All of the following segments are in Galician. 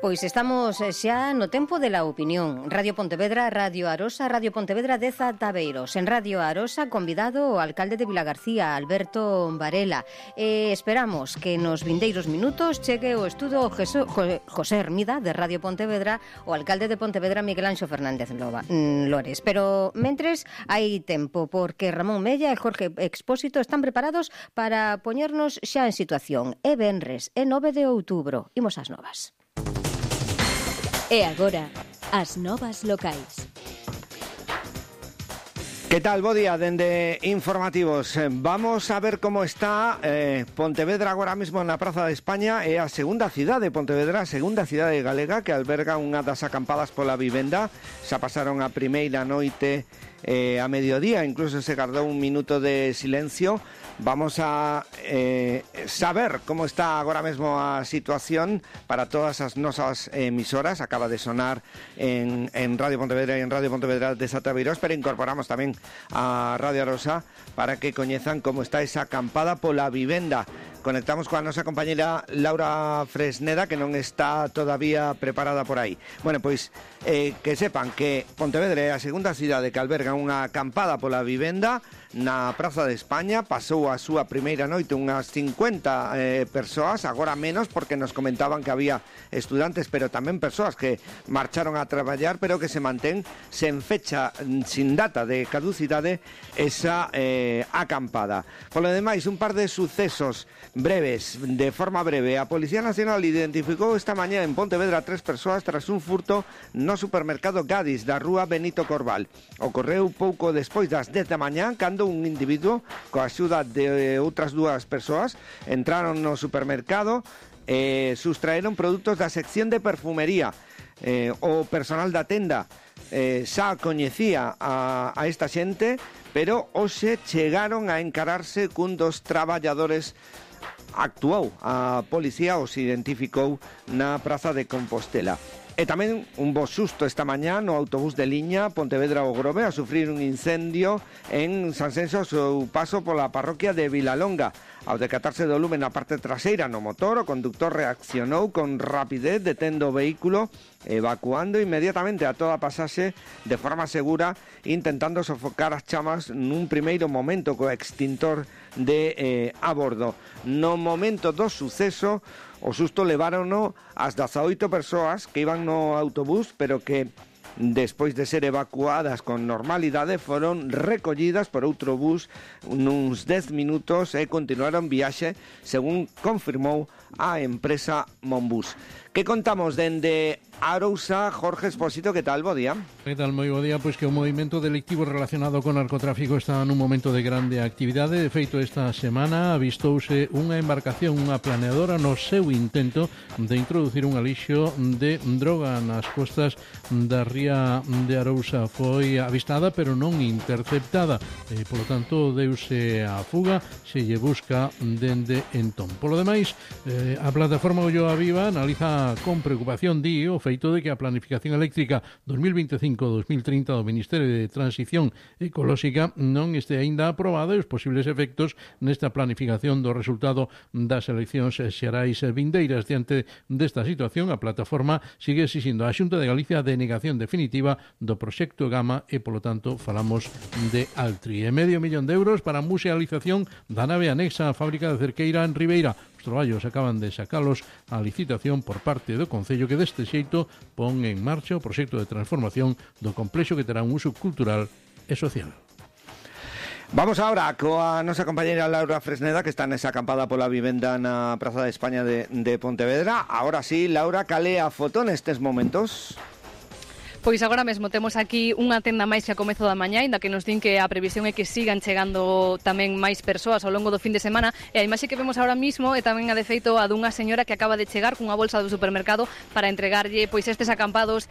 Pois estamos xa no tempo de la opinión. Radio Pontevedra, Radio Arosa, Radio Pontevedra de Zataveiros. En Radio Arosa, convidado o alcalde de Vilagarcía, Alberto Varela. Esperamos que nos vindeiros minutos chegue o estudo José Hermida, de Radio Pontevedra, o alcalde de Pontevedra, Miguel Anxo Fernández Lores. Pero, mentres, hai tempo, porque Ramón Mella e Jorge Expósito están preparados para poñernos xa en situación. É venres, é 9 de outubro. Imos ás novas. E agora, as novas locais. ¿Qué tal? Bo día, dende Informativos. Vamos a ver como está Pontevedra agora mesmo na Praza de España. É a segunda cidade de Pontevedra, a segunda cidade galega que alberga unha das acampadas pola vivenda. Xa pasaron a primeira noite a mediodía, incluso se guardou un minuto de silencio. Vamos a saber como está agora mesmo a situación para todas as nosas emisoras. Acaba de sonar en Radio Pontevedra e en Radio Pontevedra de Zataveiros, pero incorporamos tamén a Radio Arosa para que coñezan como está esa acampada pola vivenda. Conectamos coa nosa compañera Laura Fresneda, que non está todavía preparada por aí. Bueno, pois que sepan que Pontevedra é a segunda cidade que alberga unha acampada pola vivenda na Praza de España. Pasou a súa primeira noite unhas 50 persoas, agora menos porque nos comentaban que había estudantes, pero tamén persoas que marcharon a traballar, pero que se mantén sen fecha, sin data de caducidade esa acampada. Polo demais, un par de sucesos breves, de forma breve. A Policía Nacional identificou esta mañá en Pontevedra 3 persoas tras un furto no supermercado Gadis da rúa Benito Corval. Ocorreu pouco despois das 10 da mañá, cando un individuo, coa axuda de outras dúas persoas, entraron no supermercado e sustraeron produtos da sección de perfumería. O personal da tenda xa coñecía a esta xente, pero hoxe chegaron a encararse cun dos traballadores. Actuou a policía, os identificou na Praza de Compostela. E tamén un bo susto esta mañá no autobús de liña Pontevedra ao Grove a sufrir un incendio en Sanxenxo ao seu paso pola parroquia de Vilalonga. Ao decatarse do lume na parte traseira no motor, o conductor reaccionou con rapidez, detendo o vehículo, evacuando inmediatamente a toda a pasaxe de forma segura, intentando sofocar as chamas nun primeiro momento co extintor de a bordo. No momento do suceso, o susto levárono as 18 persoas que iban no autobús, pero que despois de ser evacuadas con normalidade foron recollidas por outro bus nuns 10 minutos e continuaron viaxe, según confirmou a empresa Monbus. Que contamos dende Arousa? Jorge Expósito, que tal? Bo día. Que tal? Moi bo día. Pois que o movimento delictivo relacionado con narcotráfico está nun momento de grande actividade. De feito, esta semana avistouse unha embarcación, unha planeadora, no seu intento de introducir un alixo de droga nas costas da ría de Arousa. Foi avistada, pero non interceptada. Polo tanto, deuse a fuga, se lle busca dende entón. Polo demais, a plataforma Ulloa Viva analiza con preocupación o feito de que a planificación eléctrica 2025-2030 do Ministerio de Transición Ecolóxica non este aínda aprobada e os posibles efectos nesta planificación do resultado das eleccións xerais vindeiras. Diante desta situación, a plataforma sigue exixindo á Xunta de Galicia a denegación definitiva do proxecto Gama e, polo tanto, falamos de Altri. E medio millón de euros para a musealización da nave anexa á fábrica de Cerqueira en Ribeira. Os traballos acaban de sacalos á licitación por parte do Concello, que deste xeito pon en marcha o proxecto de transformación do complexo que terá un uso cultural e social. Vamos agora coa nosa compañera Laura Fresneda, que está nesa acampada pola vivenda na Praza de España de Pontevedra. Ahora sí, Laura, cal é a foto nestes momentos? Pois agora mesmo temos aquí unha tenda máis que a comezo da mañá, inda que nos din que a previsión é que sigan chegando tamén máis persoas ao longo do fin de semana, e a imaxe que vemos agora mismo é tamén a de feito a dunha señora que acaba de chegar cunha bolsa do supermercado para entregarlle pois estes acampados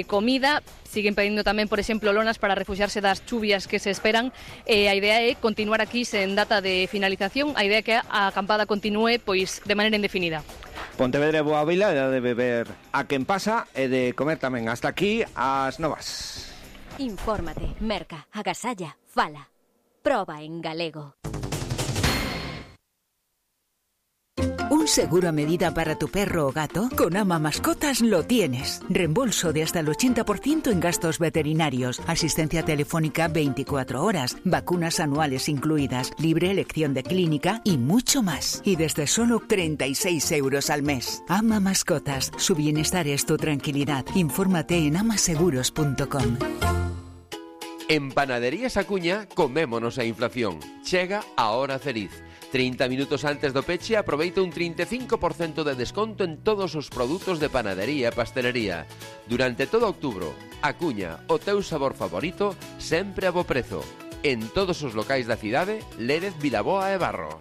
comida. Siguen pedindo tamén, por exemplo, lonas para refuxiarse das chuvias que se esperan. A idea é continuar aquí sen data de finalización. A idea é que a acampada continúe pois de maneira indefinida. Pontevedra é boa vila, é de beber a quen pasa e de comer tamén. Hasta aquí as novas. Infórmate, merca, agasalla, fala. Proba en galego. ¿Un seguro a medida para tu perro o gato? Con Ama Mascotas lo tienes. Reembolso de hasta el 80% en gastos veterinarios, asistencia telefónica 24 horas, vacunas anuales incluidas, libre elección de clínica y mucho más. Y desde solo 36 euros al mes. Ama Mascotas. Su bienestar es tu tranquilidad. Infórmate en amaseguros.com. En Panaderías Acuña comémonos a inflación. Chega a hora feliz. 30 minutos antes do peche aproveita un 35% de desconto en todos os produtos de panadería e pastelería. Durante todo outubro, Acuña, o teu sabor favorito, sempre a bo prezo. En todos os locais da cidade, Lérez, Vilaboa e Barro.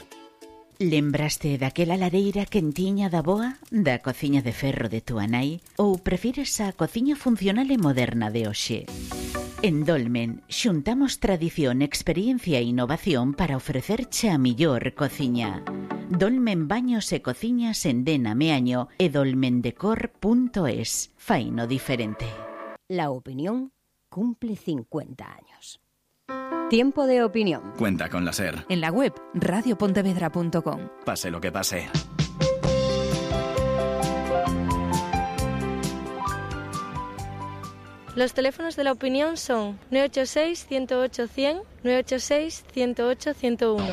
Lembraste daquela lareira quentiña da boa, da cociña de ferro de túa nai? Ou prefires a cociña funcional e moderna de hoxe? En Dolmen, xuntamos tradición, experiencia e innovación para ofrecerche a millor cociña. Dolmen Baños e Cociñas en Dena Meaño e dolmendecor.es. Faino diferente. La opinión cumple 50 años. Tiempo de opinión. Cuenta con la SER. En la web radiopontevedra.com. Pase lo que pase. Los teléfonos de la opinión son 986-108-100, 986-108-101.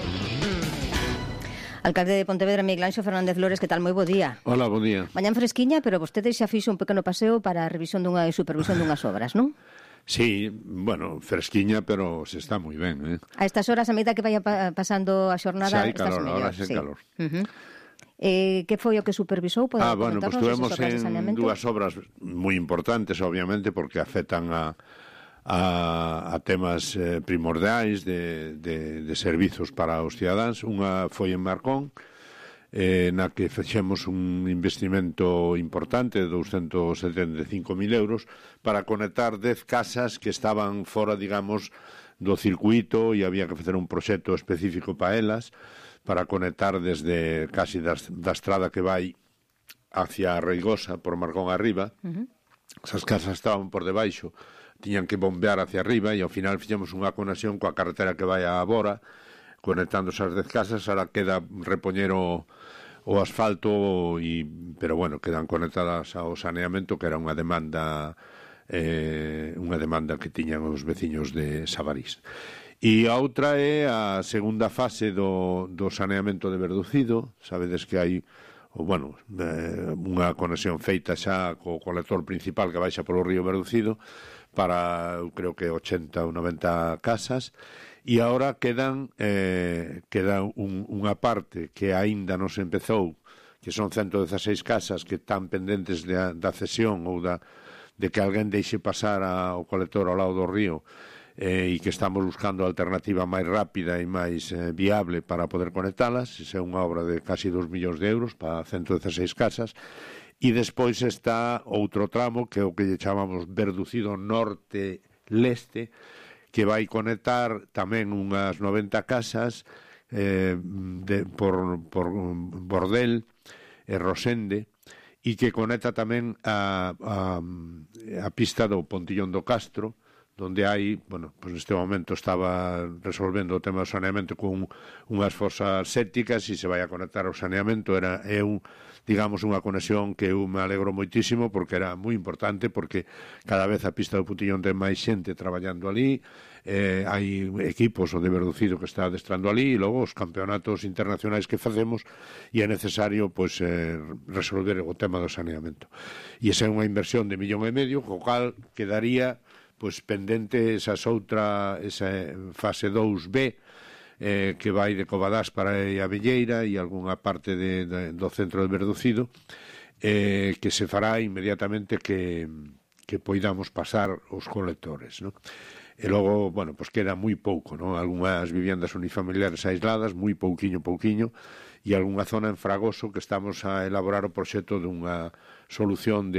Alcalde de Pontevedra, Miguel Anxo Fernández Lores, que tal? Moi bo día. Hola, bo día. Mañán fresquiña, pero vostede xa fixo un pequeno paseo para a revisión dunha e supervisión dunhas obras, non? Sí, bueno, fresquiña, pero se está moi ben, A estas horas, a medida que vaya pasando a xornada, xa hai calor, ahora xa hai calor. Que foi o que supervisou? Bueno, pues tuvemos en dúas obras moi importantes, obviamente, porque afectan a temas primordiais de servizos para os cidadáns. Unha foi en Marcón, na que fixemos un investimento importante de 275.000 euros para conectar 10 casas que estaban fora, digamos, do circuito e había que facer un proxecto específico para elas, para conectar desde casi da estrada que vai hacia Reigosa, por Marcón arriba. Esas casas estaban por debaixo, tiñan que bombear hacia arriba e ao final fixemos unha conexión coa carretera que vai a Bora, conectando esas 10 casas. Ahora queda repoñer o asfalto, pero bueno, quedan conectadas ao saneamento, que era unha demanda que tiñan os veciños de Sabarís. E a outra é a segunda fase do saneamento de Verducido. Sabedes que hai unha conexión feita xa co colector principal que baixa polo río Verducido para, eu creo que 80 ou 90 casas, e agora queda unha parte que aínda non se empezou, que son 116 casas que están pendentes da cesión ou de que alguén deixe pasar o colector ao lado do río, e que estamos buscando a alternativa máis rápida e máis viable para poder conectalas. Esa é unha obra de casi 2 millóns de euros para 116 casas. E despois está outro tramo, que é o que lle chamamos Verducido Norte-Leste, que vai conectar tamén unhas 90 casas por Bordel e Rosende, e que conecta tamén a pista do Pontillón do Castro, donde hai, pues neste momento estaba resolvendo o tema do saneamento con unhas fosas sépticas e se vai a conectar ao saneamento. É digamos, unha conexión que eu me alegro moitísimo, porque era moi importante, porque cada vez a pista do Putillón ten máis xente traballando ali, hai equipos o de Verducido que está adestrando ali, e logo os campeonatos internacionais que facemos, e é necesario resolver o tema do saneamento. E esa é unha inversión de 1,5 millón, co cal quedaría pendente esa fase 2B, que vai de Covadás para a Velleira e algunha parte do centro de Verducido, que se fará inmediatamente que poidamos pasar os colectores, non? E logo, pues queda moi pouco, non? Algunhas viviendas unifamiliares aisladas, moi pouquiño, e algunha zona en Fragoso que estamos a elaborar o proxecto dunha solución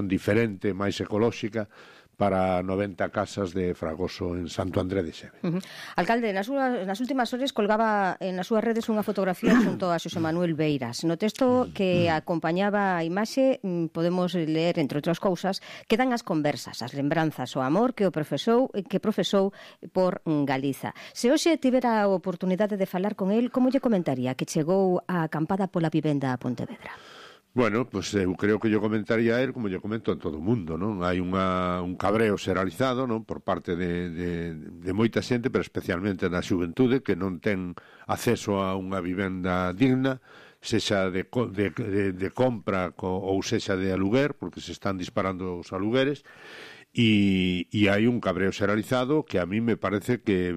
diferente, máis ecolóxica, para 90 casas de Fragoso en Santo André de Xeve. Alcalde, nas últimas horas colgaba nas súas redes unha fotografía xunto a Xosé Manuel Beiras. No texto que acompañaba a imaxe podemos ler, entre outras cousas, que dan as conversas, as lembranzas, o amor que profesou por Galiza. Se hoxe tivera a oportunidade de falar con el, como lle comentaría que chegou a acampada pola vivenda a Pontevedra? Bueno, pues eu creo que yo comentaría a él como yo comento en todo o mundo, non? Hai un cabreo xeralizado, non? Por parte de moita xente, pero especialmente na xuventude, que non ten acceso a unha vivenda digna, sexa de compra ou sexa de aluguer, porque se están disparando os alugueres, e hai un cabreo xeralizado que a mí me parece que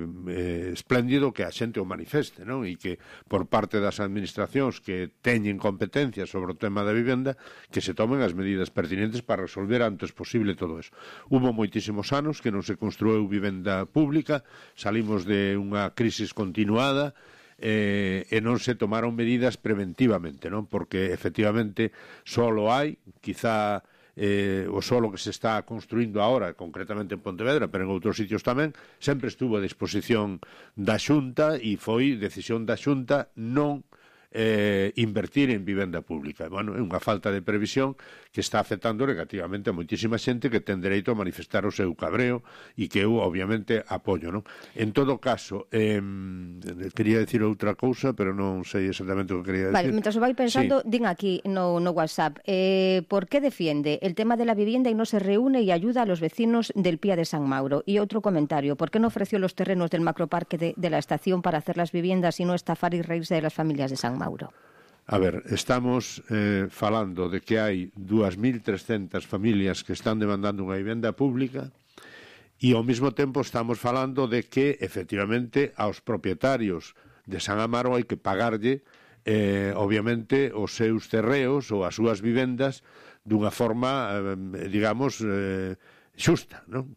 espléndido que a xente o manifeste, non? E que por parte das administracións que teñen competencia sobre o tema da vivenda, que se tomen as medidas pertinentes para resolver antes posible todo eso. Hubo moitísimos anos que non se construiu vivenda pública, salimos de unha crisis continuada, e non se tomaron medidas preventivamente, non? Porque efectivamente solo hai, quizá o solo que se está construindo agora, concretamente en Pontevedra, pero en outros sitios tamén, sempre estuvo a disposición da Xunta e foi decisión da Xunta non invertir en vivenda pública. Bueno, é unha falta de previsión que está afectando negativamente a moitísima xente que ten dereito a manifestar o seu cabreo e que eu, obviamente, apoio, non? En todo caso, quería decir outra cousa, pero non sei exactamente o que quería decir. Vale, mentras o vai pensando, sí. Din aquí no WhatsApp, ¿por qué defiende el tema de la vivienda y no se reúne y ayuda a los vecinos del Pía de San Mauro? Y otro comentario, ¿por qué no ofreció los terrenos del macroparque de la estación para hacer las viviendas y no estafar y reírse de las familias de San Mauro? A ver, estamos falando de que hai 2.300 familias que están demandando unha vivenda pública e ao mesmo tempo estamos falando de que, efectivamente, aos propietarios de San Amaro hai que pagarlle, obviamente, os seus terreos ou as súas vivendas dunha forma, digamos, xusta, non?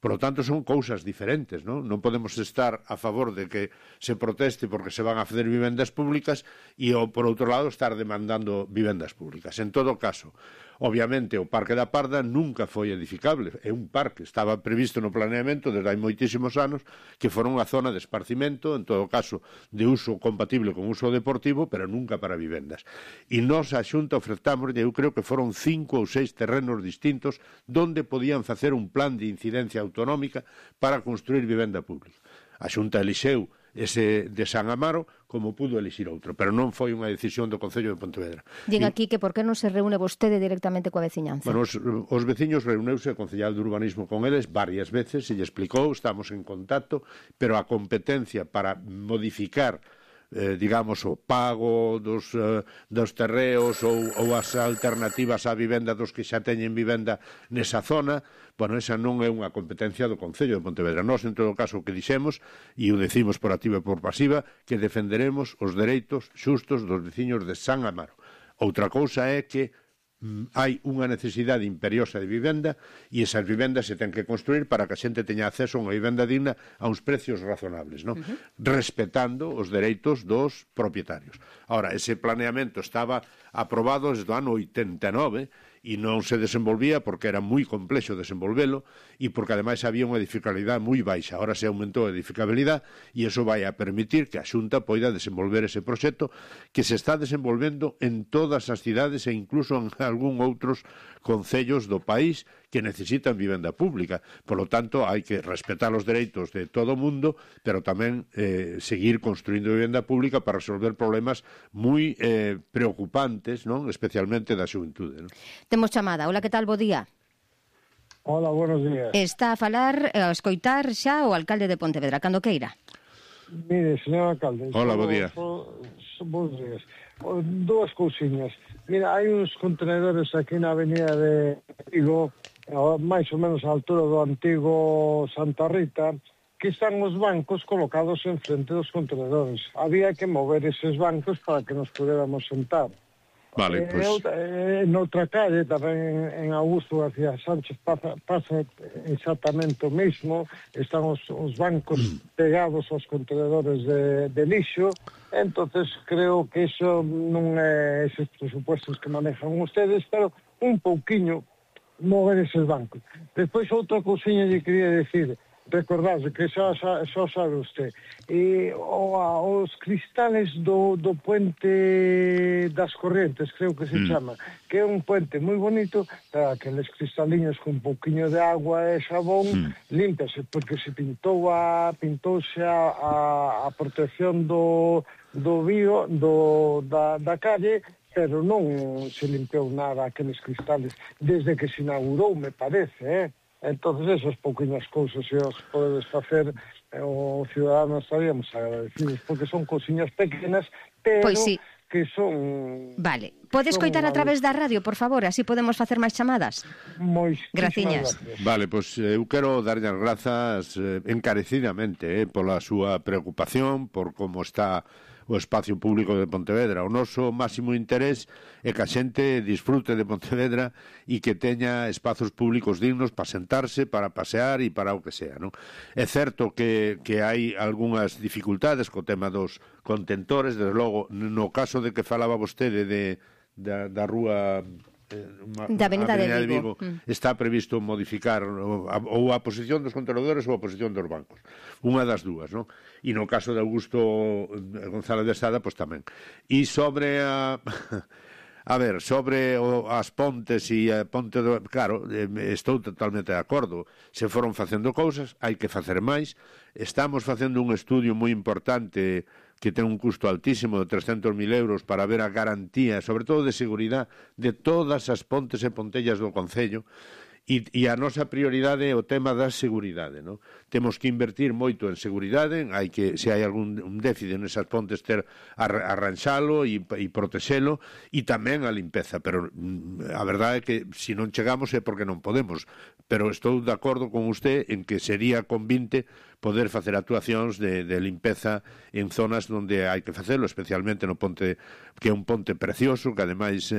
Por lo tanto, son cousas diferentes, non? Non podemos estar a favor de que se proteste porque se van a facer vivendas públicas e, por outro lado, estar demandando vivendas públicas. En todo caso, obviamente, o Parque da Parda nunca foi edificable. É un parque, estaba previsto no planeamento desde hai moitísimos anos que fora unha zona de esparcimento, en todo caso, de uso compatible con uso deportivo, pero nunca para vivendas. E nós, a Xunta, ofertamos, eu creo que foron 5 ou 6 terrenos distintos donde podían facer un plan de incidencia autonómica para construir vivenda pública. A Xunta elixeu ese de San Amaro como pudo elixir outro, pero non foi unha decisión do Concello de Pontevedra. Din aquí que por que non se reúne vostede directamente coa veciñanza? Bueno, os veciños reuneuse o concellal de urbanismo con eles varias veces e lle explicou, estamos en contacto, pero a competencia para modificar digamos, o pago dos terreos ou as alternativas á vivenda dos que xa teñen vivenda nesa zona, bueno, esa non é unha competencia do Concello de Pontevedra. Nós, en todo caso, o que dixemos, e o decimos por activa e por pasiva, que defenderemos os dereitos xustos dos veciños de San Amaro. Outra cousa é que hai unha necesidade imperiosa de vivenda e esas vivendas se ten que construir para que a xente teña acceso a unha vivenda digna a uns precios razonables, non? Respetando os dereitos dos propietarios. Ahora, ese planeamento estaba aprobado desde o ano 89 e non se desenvolvía porque era moi complexo desenvolvelo e porque ademais había unha edificabilidade moi baixa. Ahora se aumentou a edificabilidade e iso vai a permitir que a Xunta poida desenvolver ese proxecto que se está desenvolvendo en todas as cidades e incluso en algún outros concellos do país que necesitan vivenda pública. Por lo tanto, hai que respetar os dereitos de todo o mundo, pero tamén seguir construindo vivenda pública para resolver problemas moi preocupantes, non? Especialmente da xuventude, non? Temos chamada. Hola, que tal? Bo día. Hola, buenos días. Está a falar, a escoitar xa o alcalde de Pontevedra, cando queira. Mire, señor alcalde. Hola, bo día. Bons días. Dúas cousiñas. Mira, hai uns contenedores aquí na avenida de Vigo, máis ou menos a altura do antigo Santa Rita, que están os bancos colocados en frente dos contenedores. Había que mover eses bancos para que nos pudiéramos sentar. Vale, pues... noutra calle, tamén en Augusto García Sánchez, pasa exactamente o mismo. Están os bancos pegados aos contenedores de lixo. Entonces creo que eso non é esos presupuestos que manejan ustedes, pero un pouquiño mover eses bancos. Despois outra cousiña lle quería decir, recordarse que xa sabe usted, os cristales do puente das Corrientes, creo que se chama, que é un puente moi bonito, aqueles cristaliños con un pouquiño de agua e xabón, límpase, porque se pintouse a protección do vío da calle, pero non se limpiou nada aqueles cristales desde que se inaugurou, me parece, Entonces, esas pouquiñas cousas se os podedes facer, os ciudadanos estaríamos agradecidos, porque son cousiñas pequenas, pero pois sí, que son... Vale. Podes coitar a través da radio, por favor, así podemos facer máis chamadas? Graciñas. Vale, pois eu quero darlle as grazas encarecidamente pola súa preocupación, por como está o espacio público de Pontevedra. O noso máximo interés é que a xente disfrute de Pontevedra e que teña espazos públicos dignos para sentarse, para pasear e para o que sea, non? É certo que hai algunhas dificultades co tema dos contentores, desde logo, no caso de que falaba vostede da rúa... da Avenida de Vigo, está previsto modificar ou a posición dos contenedores ou a posición dos bancos, unha das dúas, non? E no caso de Augusto González de Sada, pois tamén. E sobre sobre as pontes e a ponte claro, estou totalmente de acordo. Se foron facendo cousas, hai que facer máis. Estamos facendo un estudio moi importante que ten un custo altísimo de 300.000 euros para ver a garantía, sobre todo de seguridade, de todas as pontes e pontellas do Concello, e a nosa prioridade é o tema da seguridade, non? Temos que invertir moito en seguridade, se hai algún déficit nesas pontes, arranxalo e protexelo, e tamén a limpeza, pero a verdade é que se non chegamos é porque non podemos, pero estou de acordo con usted en que sería convinte poder facer actuacións de limpeza en zonas onde hai que facelo, especialmente no ponte, que é un ponte precioso, que ademais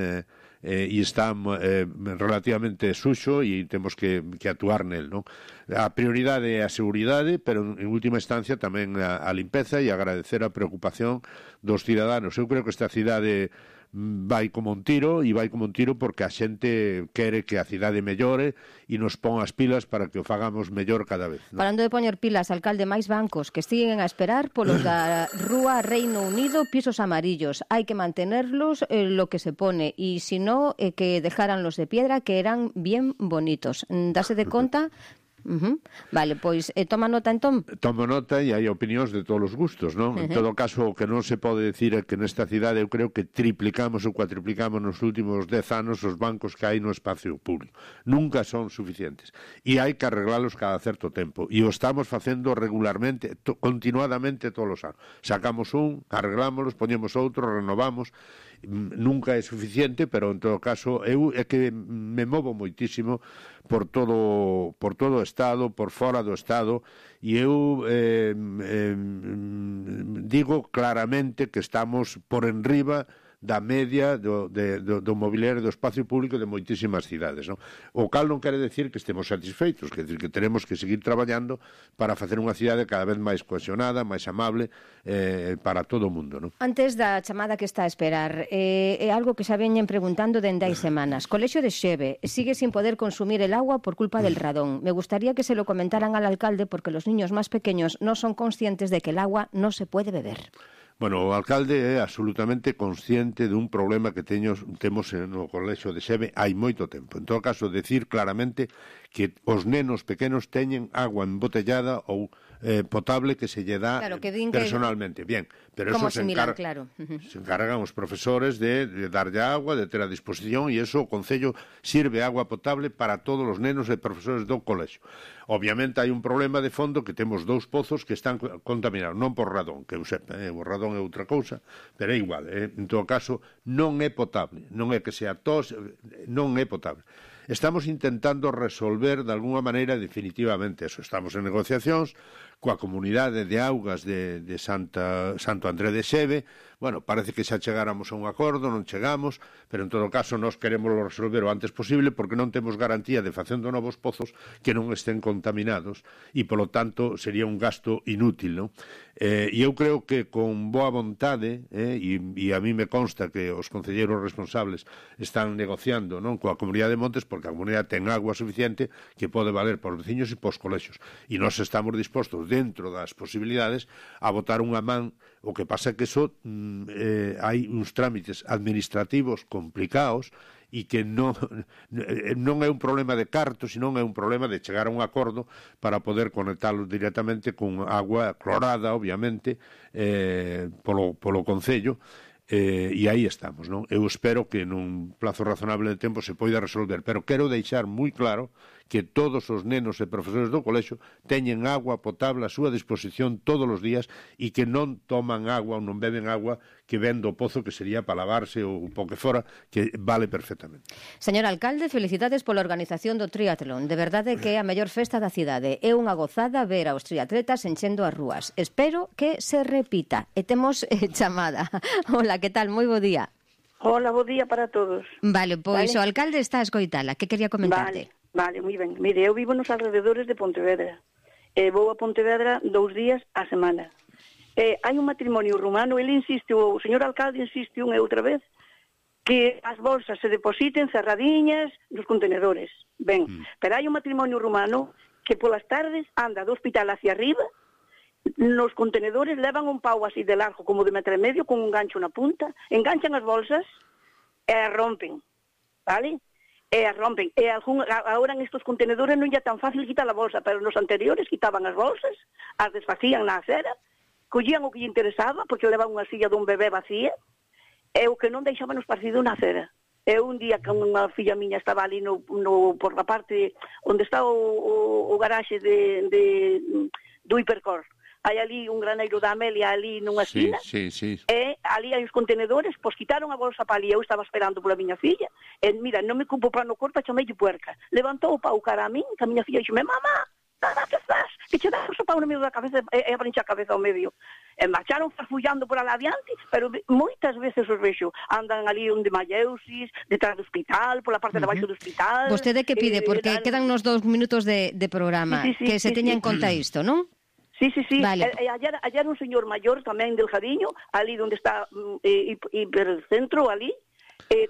está relativamente suxo e temos que actuar nel, non? A prioridade é a seguridade, pero en última instancia tamén a limpeza, e agradecer a preocupación dos ciudadanos. Eu creo que esta cidade vai como un tiro, e vai como un tiro porque a xente quere que a cidade mellore e nos pon as pilas para que o fagamos mellor cada vez, ¿no? Falando de poñer pilas, alcalde, máis bancos que siguen a esperar polos da Rúa Reino Unido, pisos amarillos. Hai que mantenerlos lo que se pone, e si no, que dejaran los de piedra, que eran bien bonitos. Dase de conta... Vale, pois toma nota entón. Tomo nota, e hai opinións de todos os gustos, non? En todo caso, o que non se pode decir é que nesta cidade eu creo que triplicamos ou cuatriplicamos nos últimos 10 anos os bancos que hai no espacio público. Nunca son suficientes e hai que arreglalos cada certo tempo, e o estamos facendo regularmente, continuadamente todos os anos. Sacamos un, arreglámolos, poñemos outro, renovamos. Nunca é suficiente, pero en todo caso eu é que me movo moitísimo por todo o Estado, por fora do Estado, e eu digo claramente que estamos por enriba da media do mobiliario do espacio público de moitísimas cidades, non? O cal non quere decir que estemos satisfeitos, quer decir que tenemos que seguir traballando para facer unha cidade cada vez máis cohesionada, máis amable para todo o mundo, non? Antes da chamada que está a esperar, é algo que xa veñen preguntando dende hai semanas. Colexio de Xeve sigue sin poder consumir el agua por culpa del radón. Me gustaría que se lo comentaran al alcalde, porque los niños más pequeños no son conscientes de que el agua no se puede beber. Bueno, o alcalde é absolutamente consciente dun problema que temos no colexio de Xeve hai moito tempo. En todo caso, decir claramente que os nenos pequenos teñen agua embotellada ou potable que se lle dá personalmente. Bien, pero eso se encargan os profesores de darlle agua, de ter a disposición, e eso o Concello sirve agua potable para todos os nenos e profesores do colexio. Obviamente hai un problema de fondo, que temos 2 pozos que están contaminados, non por radón, que eu sepa, o radón é outra cousa, pero é igual, en todo caso non é potable, non é que sea tos, non é potable. Estamos intentando resolver de alguna maneira definitivamente eso. Estamos en negociacións coa comunidade de augas de Santo André de Xeve. bueno, parece que xa chegáramos a un acordo, non chegamos, pero en todo caso nós queremos resolver o antes posible porque non temos garantía de facendo novos pozos que non estén contaminados e, polo tanto, sería un gasto inútil, non? E eu creo que con boa vontade, e a mí me consta que os concelleiros responsables están negociando, non, coa Comunidade de Montes, porque a comunidade ten agua suficiente que pode valer para os veciños e para os colexios. E nós estamos dispostos, dentro das posibilidades, a botar unha man. O que pasa é que eso hai uns trámites administrativos complicados e que non é un problema de carto, senón é un problema de chegar a un acordo para poder conectarlos directamente con agua clorada, obviamente, polo Concello, e aí estamos, non? Eu espero que nun plazo razonable de tempo se poida resolver, pero quero deixar moi claro que todos os nenos e profesores do colexio teñen agua potable a súa disposición todos os días e que non toman agua ou non beben agua que ven do pozo, que sería para lavarse ou po que fora, que vale perfectamente. Señor alcalde, felicidades pola organización do triatlón. De verdade que é a mellor festa da cidade. É unha gozada ver aos triatletas enchendo as rúas. Espero que se repita. E temos chamada. Hola, que tal? Moi bo día. Hola, bo día para todos. Vale, pois o alcalde está a escoitala. Que quería comentarte? Vale, moi ben. Mire, eu vivo nos alrededores de Pontevedra. Vou a Pontevedra 2 días a semana. Hai un matrimonio rumano, ele insiste, o señor alcalde insiste unha e outra vez, que as bolsas se depositen cerradiñas nos contenedores. Ben, pero hai un matrimonio rumano que polas tardes anda do hospital hacia arriba, nos contenedores levan un pau así de largo, como de 1,5 metros, con un gancho na punta, enganchan as bolsas e as rompen, vale? E as rompen. E agora en estos contenedores non é tan fácil quitar a bolsa, pero nos anteriores quitaban as bolsas, as desfacían na acera, collían o que lle interesaba, porque levaban unha silla dun bebé vacía, e o que non deixaban os partidos na acera. E un día que unha filla miña estaba ali por la parte onde está o garaxe do Hipercor. Hai ali un graneiro da Amelia ali nunha esquina, e ali hai os contenedores, pois quitaron a bolsa para ali, eu estaba esperando pola miña filla, e mira, non me cupo para no corpo, chameille puerca. Levantou o pau cara a min, que a miña filla dixo, mamá, que estás? Que che das o pau no medio da cabeza e a brincha a cabeza ao medio. E marcharon farfullando por ala adiante, pero moitas veces os vexo, andan ali onde Malleusis, detrás do hospital, pola parte de baixo do hospital. Vostede que pide, porque quedan nos 2 minutos de programa, que se teña en conta isto, non? Sí. Vale. Ayer un señor maior, tamén delgadiño, ali onde está hipercentro, ali,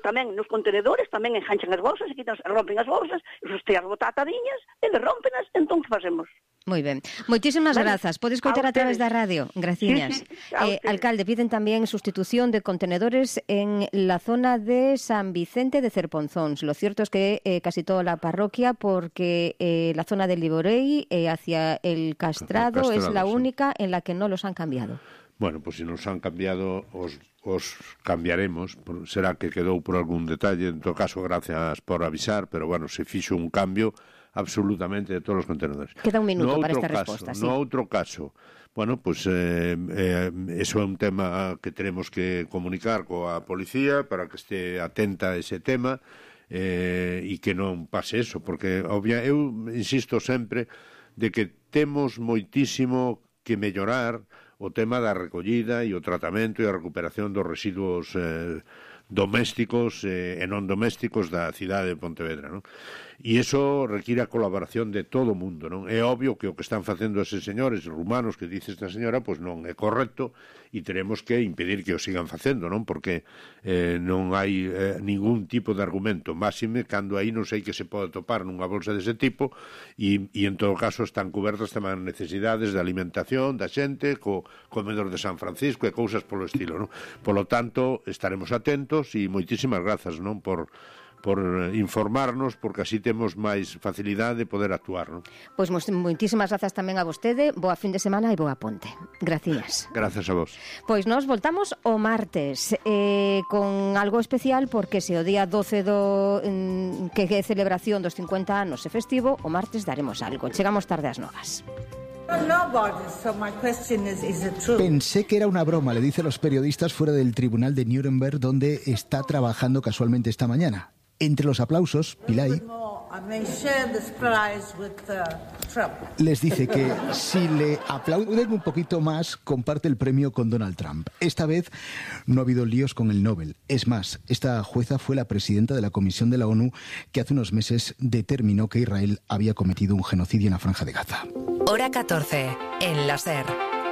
tamén nos contenedores, tamén enganchan as bolsas, e rompen as bolsas, os teas botatadiñas, e rompenlas, entón que facemos? Moi ben. Moitísimas grazas. Podes coitar a través da radio. Graciñas. Alcalde, piden tamén sustitución de contenedores en la zona de San Vicente de Cerponzóns. Lo cierto es que casi toda la parroquia, porque la zona del Liborei hacia el Castrado es la única en la que no los han cambiado. Bueno, pues si nos han cambiado, os cambiaremos. Será que quedou por algún detalle. En todo caso, gracias por avisar, pero bueno, se fixo un cambio absolutamente de todos os contenedores. Queda un minuto para esta resposta, sí. No outro caso, bueno, pues eso é un tema que tenemos que comunicar coa policía para que este atenta a ese tema e que non pase eso, porque eu insisto sempre de que temos moitísimo que mellorar o tema da recollida e o tratamento e a recuperación dos residuos domésticos e non domésticos da cidade de Pontevedra, non? E iso require a colaboración de todo o mundo, non? É obvio que o que están facendo eses señores rumanos que dice esta señora, pois non é correcto e teremos que impedir que o sigan facendo, non? Porque non hai ningún tipo de argumento máxime cando aí non sei que se pode topar nunha bolsa dese tipo e en todo caso están cobertas tamén necesidades de alimentación da xente, co comedor de San Francisco e cousas polo estilo, non? Polo tanto, estaremos atentos e moitísimas grazas, non? Por informarnos, porque así temos máis facilidade de poder actuar, non? Pois moitísimas grazas tamén a vostede, boa fin de semana e boa ponte. Gracias. Grazas a vos. Pois nos voltamos o martes con algo especial, porque se o día 12 que é celebración dos 50 anos e festivo, o martes daremos algo. Chegamos tarde ás novas. Pensé que era una broma, le dice a los periodistas fuera del tribunal de Nuremberg, donde está trabajando casualmente esta mañana. Entre los aplausos, Pillay Les dice que si le aplauden un poquito más, comparte el premio con Donald Trump. Esta vez no ha habido líos con el Nobel. Es más, esta jueza fue la presidenta de la Comisión de la ONU que hace unos meses determinó que Israel había cometido un genocidio en la Franja de Gaza. Hora 14, en la SER,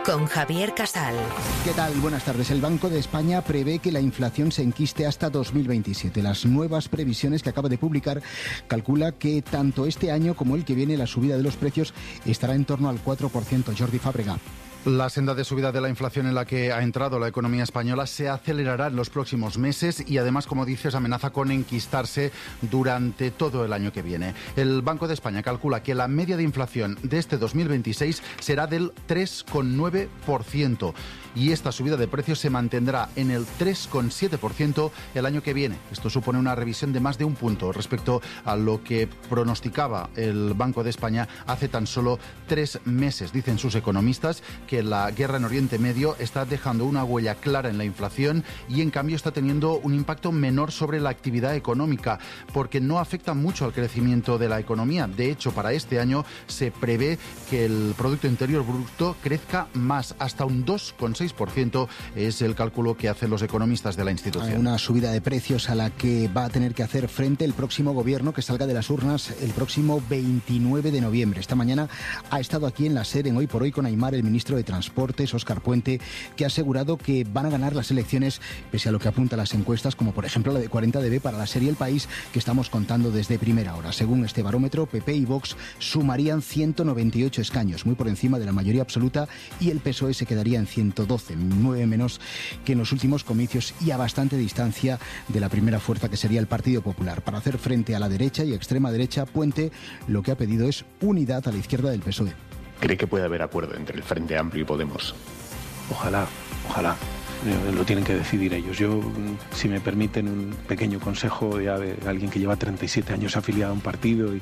con Javier Casal. ¿Qué tal? Buenas tardes. El Banco de España prevé que la inflación se enquiste hasta 2027. Las nuevas previsiones que acaba de publicar calcula que tanto este año como el que viene la subida de los precios estará en torno al 4%. Jordi Fábrega. La senda de subida de la inflación en la que ha entrado la economía española se acelerará en los próximos meses y además, como dices, amenaza con enquistarse durante todo el año que viene. El Banco de España calcula que la media de inflación de este 2026 será del 3,9% y esta subida de precios se mantendrá en el 3,7% el año que viene. Esto supone una revisión de más de un punto respecto a lo que pronosticaba el Banco de España hace tan solo 3 meses. Dicen sus economistas que la guerra en Oriente Medio está dejando una huella clara en la inflación y en cambio está teniendo un impacto menor sobre la actividad económica porque no afecta mucho al crecimiento de la economía. De hecho, para este año se prevé que el Producto Interior Bruto crezca más, hasta un 2,6% es el cálculo que hacen los economistas de la institución. Una subida de precios a la que va a tener que hacer frente el próximo gobierno que salga de las urnas el próximo 29 de noviembre. Esta mañana ha estado aquí en la SER en Hoy por Hoy con Aimar, el ministro de Transportes, Óscar Puente, que ha asegurado que van a ganar las elecciones pese a lo que apuntan las encuestas, como por ejemplo la de 40DB para la serie El País, que estamos contando desde primera hora. Según este barómetro, PP y Vox sumarían 198 escaños, muy por encima de la mayoría absoluta, y el PSOE se quedaría en 112, 9 menos que en los últimos comicios y a bastante distancia de la primera fuerza, que sería el Partido Popular. Para hacer frente a la derecha y extrema derecha, Puente lo que ha pedido es unidad a la izquierda del PSOE. ¿Cree que puede haber acuerdo entre el Frente Amplio y Podemos? Ojalá. Lo tienen que decidir ellos. Yo, si me permiten un pequeño consejo ya de alguien que lleva 37 años afiliado a un partido, y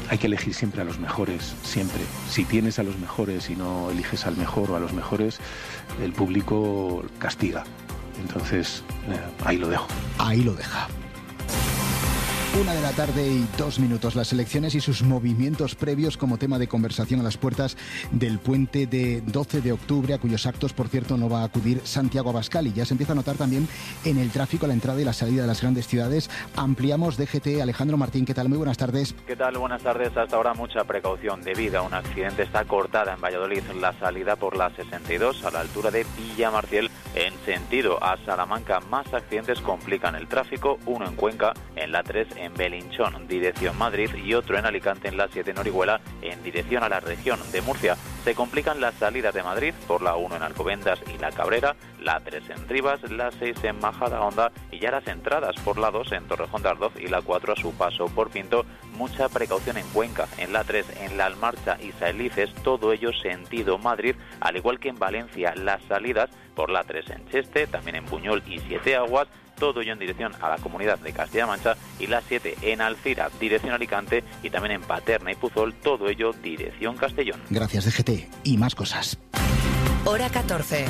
hay que elegir siempre a los mejores, siempre. Si tienes a los mejores y no eliges al mejor o a los mejores, el público castiga. Entonces, ahí lo dejo. Ahí lo deja. 1:02 las elecciones y sus movimientos previos como tema de conversación a las puertas del puente de 12 de octubre, a cuyos actos, por cierto, no va a acudir Santiago Abascal, y ya se empieza a notar también en el tráfico a la entrada y la salida de las grandes ciudades. Ampliamos DGT. Alejandro Martín, ¿qué tal? Muy buenas tardes. ¿Qué tal? Buenas tardes. Hasta ahora mucha precaución debido a un accidente. Está cortada en Valladolid la salida por la 62 a la altura de Villamartiel en sentido a Salamanca. Más accidentes complican el tráfico, uno en Cuenca, en la 3 en Belinchón, dirección Madrid, y otro en Alicante en la 7 en Orihuela, en dirección a la región de Murcia. Se complican las salidas de Madrid por la 1 en Alcobendas y La Cabrera, la 3 en Rivas, la 6 en Majadahonda y ya las entradas por la 2 en Torrejón de Ardoz y la 4 a su paso por Pinto. Mucha precaución en Cuenca, en la 3 en La Almarcha y Saelices, todo ello sentido Madrid, al igual que en Valencia las salidas por la 3 en Cheste, también en Buñol y Siete Aguas, todo ello en dirección a la comunidad de Castilla-La Mancha, y la 7 en Alcira, dirección Alicante, y también en Paterna y Puzol, todo ello dirección Castellón. Gracias, DGT. Y más cosas. Hora 14.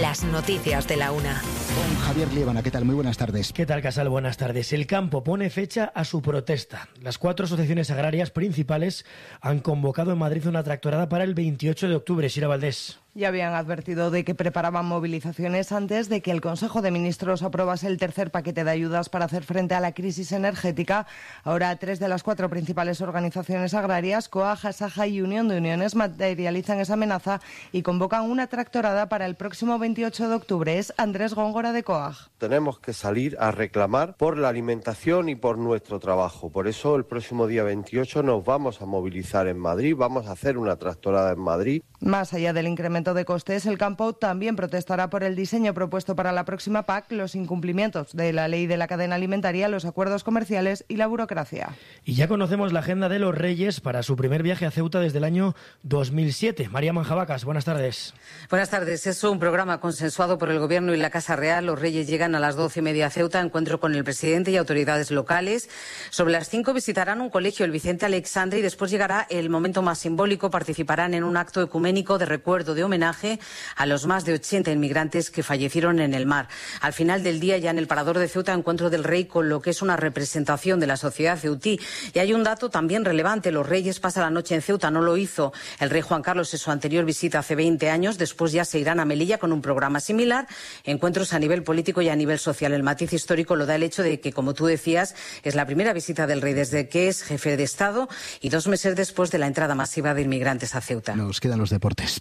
Las noticias de la una. Con Javier Liébana, ¿qué tal? Muy buenas tardes. ¿Qué tal, Casal? Buenas tardes. El campo pone fecha a su protesta. Las 4 asociaciones agrarias principales han convocado en Madrid una tractorada para el 28 de octubre. Sira Valdés. Ya habían advertido de que preparaban movilizaciones antes de que el Consejo de Ministros aprobase el tercer paquete de ayudas para hacer frente a la crisis energética. Ahora 3 de las 4 principales organizaciones agrarias, COAG, ASAJA y Unión de Uniones, materializan esa amenaza y convocan una tractorada para el próximo 28 de octubre. Es Andrés Góngora de COAG. Tenemos que salir a reclamar por la alimentación y por nuestro trabajo. Por eso el próximo día 28 nos vamos a movilizar en Madrid, vamos a hacer una tractorada en Madrid. Más allá del incremento de costes, el campo también protestará por el diseño propuesto para la próxima PAC, los incumplimientos de la ley de la cadena alimentaria, los acuerdos comerciales y la burocracia. Y ya conocemos la agenda de los Reyes para su primer viaje a Ceuta desde el año 2007. María Manjabacas, buenas tardes. Buenas tardes. Es un programa consensuado por el Gobierno y la Casa Real. Los Reyes llegan a las 12:30 a Ceuta, encuentro con el presidente y autoridades locales. Sobre las 5 visitarán un colegio, el Vicente Alexandre, y después llegará el momento más simbólico. Participarán en un acto ecuménico de recuerdo de un homenaje a los más de 80 inmigrantes que fallecieron en el mar. Al final del día, ya en el Parador de Ceuta, encuentro del rey con lo que es una representación de la sociedad ceutí. Y hay un dato también relevante. Los reyes pasan la noche en Ceuta. No lo hizo el rey Juan Carlos en su anterior visita hace 20 años. Después ya se irán a Melilla con un programa similar. Encuentros a nivel político y a nivel social. El matiz histórico lo da el hecho de que, como tú decías, es la primera visita del rey desde que es jefe de Estado y 2 meses después de la entrada masiva de inmigrantes a Ceuta. Nos quedan los deportes.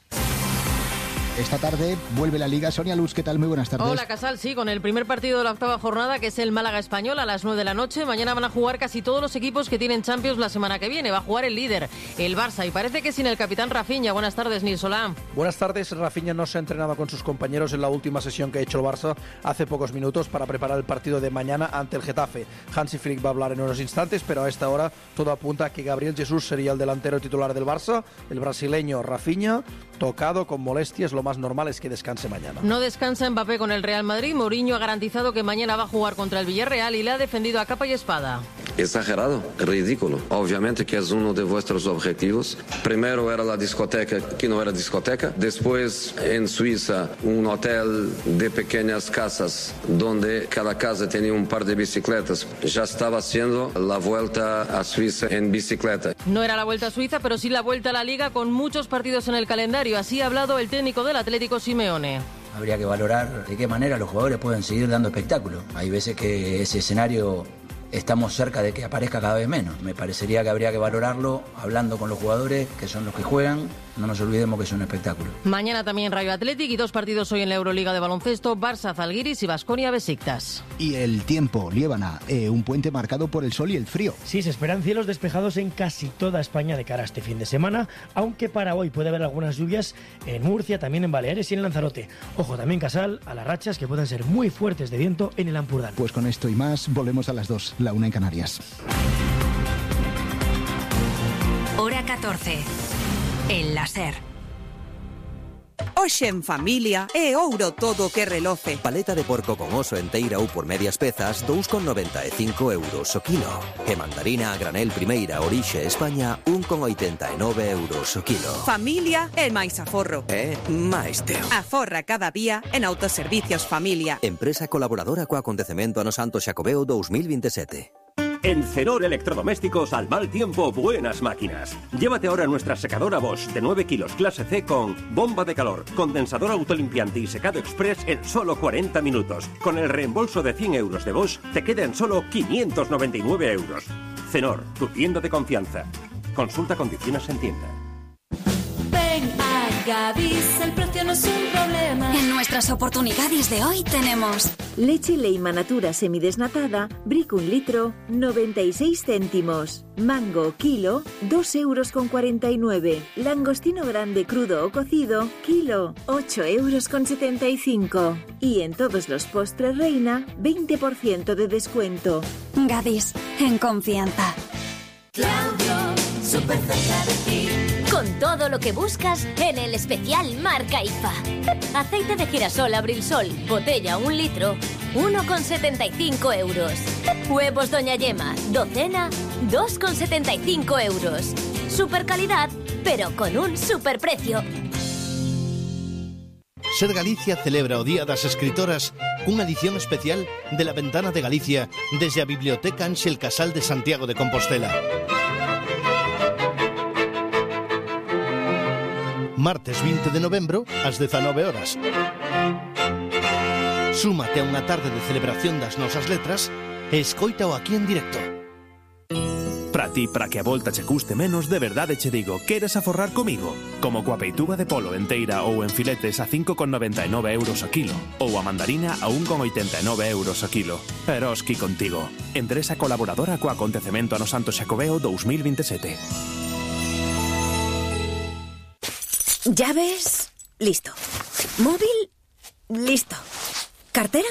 Esta tarde vuelve la Liga. Sonia Luz, ¿qué tal? Muy buenas tardes. Hola, Casal, sí, con el primer partido de la 8ª jornada, que es el Málaga Español, a las 9 de la noche. Mañana van a jugar casi todos los equipos que tienen Champions la semana que viene. Va a jugar el líder, el Barça, y parece que sin el capitán Rafinha. Buenas tardes, Nil Solá. Buenas tardes. Rafinha no se ha entrenado con sus compañeros en la última sesión que ha hecho el Barça hace pocos minutos para preparar el partido de mañana ante el Getafe. Hansi Flick va a hablar en unos instantes, pero a esta hora todo apunta a que Gabriel Jesús sería el delantero titular del Barça. El brasileño Rafinha, tocado con molestias, lo más normal es que descanse mañana. No descansa Mbappé con el Real Madrid. Mourinho ha garantizado que mañana va a jugar contra el Villarreal y le ha defendido a capa y espada. Exagerado, ridículo. Obviamente que es uno de vuestros objetivos. Primero era la discoteca, que no era discoteca. Después en Suiza, un hotel de pequeñas casas, donde cada casa tenía un par de bicicletas. Ya estaba haciendo la vuelta a Suiza en bicicleta. No era la vuelta a Suiza, pero sí la vuelta a la Liga, con muchos partidos en el calendario. Así ha hablado el técnico del Atlético, Simeone. Habría que valorar de qué manera los jugadores pueden seguir dando espectáculo. Hay veces que ese escenario estamos cerca de que aparezca cada vez menos. Me parecería que habría que valorarlo hablando con los jugadores, que son los que juegan. No nos olvidemos que es un espectáculo. Mañana también Rayo Athletic y 2 partidos hoy en la Euroliga de baloncesto, Barça Zalgiris y Baskonia Besiktas. Y el tiempo, Liébana, un puente marcado por el sol y el frío. Sí, se esperan cielos despejados en casi toda España de cara a este fin de semana, aunque para hoy puede haber algunas lluvias en Murcia, también en Baleares y en Lanzarote. Ojo también, Casal, a las rachas que pueden ser muy fuertes de viento en el Ampurdán. Pues con esto y más, volvemos a las 2, la 1 en Canarias. Hora 14. El láser. Hoxe en familia é ouro todo o que reloce. Paleta de porco con oso enteira ou por medias pezas, 2,95 euros o kilo. E mandarina a granel primeira orixe España, 1,89 euros o kilo. Familia é máis aforro. É máis teo. Aforra cada día en Autoservicios Familia. Empresa colaboradora co acontecemento ano Santo Xacobeo 2027. En Cenor Electrodomésticos, al mal tiempo, buenas máquinas. Llévate ahora nuestra secadora Bosch de 9 kilos clase C con bomba de calor, condensador autolimpiante y secado express en solo 40 minutos. Con el reembolso de 100 euros de Bosch, te queda en solo 599 euros. Cenor, tu tienda de confianza. Consulta condiciones en tienda. Ven a Gadis, el precio no es un problema. En nuestras oportunidades de hoy tenemos leche Leima Natura semidesnatada, Brick 1 litro, 96 céntimos. Mango kilo, 2,49 €. Langostino grande crudo o cocido, kilo, 8,75 €. Y en todos los postres Reina, 20% de descuento. Gadis, en confianza. Claudio, súper cerca de ti. Con todo lo que buscas en el especial Marca IFA. Aceite de girasol Abrilsol, botella 1 litro, 1,75 €. Huevos Doña Yema, docena, 2,75 €. Super calidad, pero con un superprecio. Ser Galicia celebra o Día das Escritoras cunha edición especial de La Ventana de Galicia desde a Biblioteca Ángel Casal de Santiago de Compostela. Martes 20 de novembro, ás 19 horas. Súmate a unha tarde de celebración das nosas letras e escoítao aquí en directo. Para ti, para que a volta che custe menos, de verdade che digo, queres aforrar comigo? Como coa peituga de polo enteira ou en filetes a 5,99 € o kilo, ou a mandarina a 1,89 € o kilo. Eroski contigo. Empresa colaboradora co acontecemento ano Santo Xacobeo 2027. ¿Llaves? Listo. ¿Móvil? Listo. ¿Cartera?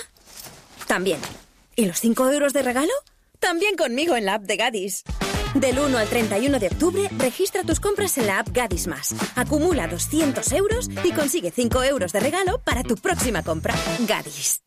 También. ¿Y los 5 € de regalo? También conmigo en la app de Gadis. Del 1 al 31 de octubre, registra tus compras en la app Gadis Más. Acumula 200 € y consigue 5 € de regalo para tu próxima compra. Gadis.